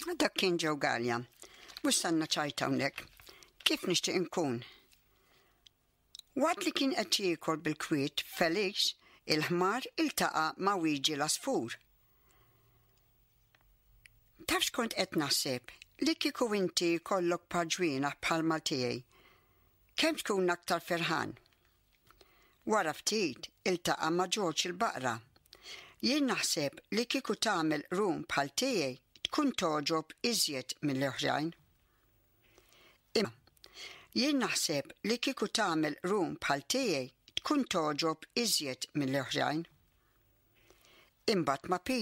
Dak kien Joe Galea. Mhux sanna ċajta hawnhekk. Kif nixtieq inkun? Waqt li kien qed jiekol bil-kwiet, Felix, il-ħmar iltaqa' ma' Wiġi l-għasfur. Taf x'kont qed naħseb? Li kieku inti jkollok par ġwienaħ bħalma tiegħi, kemm tkun aktar ferħan? Wara ftit iltaqa' ma' Ġorġ il-baqra. Jien naħseb li kieku tagħmel qrun bħal tiegħi tkun togħġob iżjed mill-oħrajn. Imma jien naħseb li kieku tagħmel qrun bħal tiegħi tkun togħġob iżjed mill-oħrajn. Imbagħad ma' Pete.